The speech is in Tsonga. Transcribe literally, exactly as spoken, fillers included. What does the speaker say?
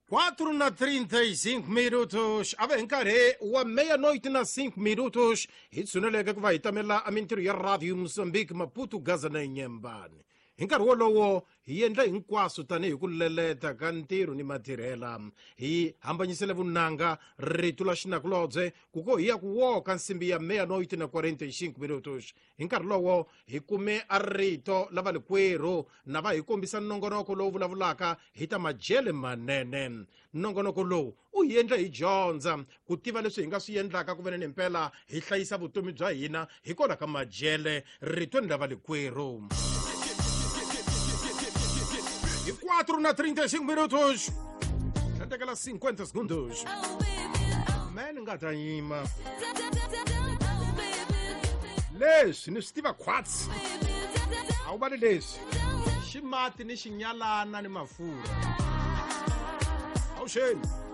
quatro na trinta e cinco minutos. A va hi nkarhi wa meia-noite na cinco minutos. Hi tshuneleke ku va hi tamela a mintirho ya Radio Mozambique, Maputo, Gaza na Inhambane. Hi nkarhi wolowo hi endla hinkwaswo tanihi ku leleta ka ntirho ni matirhela. Hi hambanyisele vunanga rito la xinakulobye ku ko hi ya ku woka nsimbi ya meia-noite na quarenta e cinco minutos. Hi nkarhi lowo hi kume a rito la valikwerhu na va hi kombisa nongonoko lowu vulavulaka hi ta majele manene. Nongonoko lowu u hi endla hi dyondza ku tiva leswi hi nga swi endlaka ku veni mpela hi hlayisa vutomi bya hina hikwalaho ka majele ritweni la valikwerhu. E quatro na trinta e cinco minutos. Até cinquenta segundos. Man nga ta yima. Leswi ni swi tiva khwatsi. A wu vali leswi. Xi mati ni xinyalana ni mafurha. Awuxeni.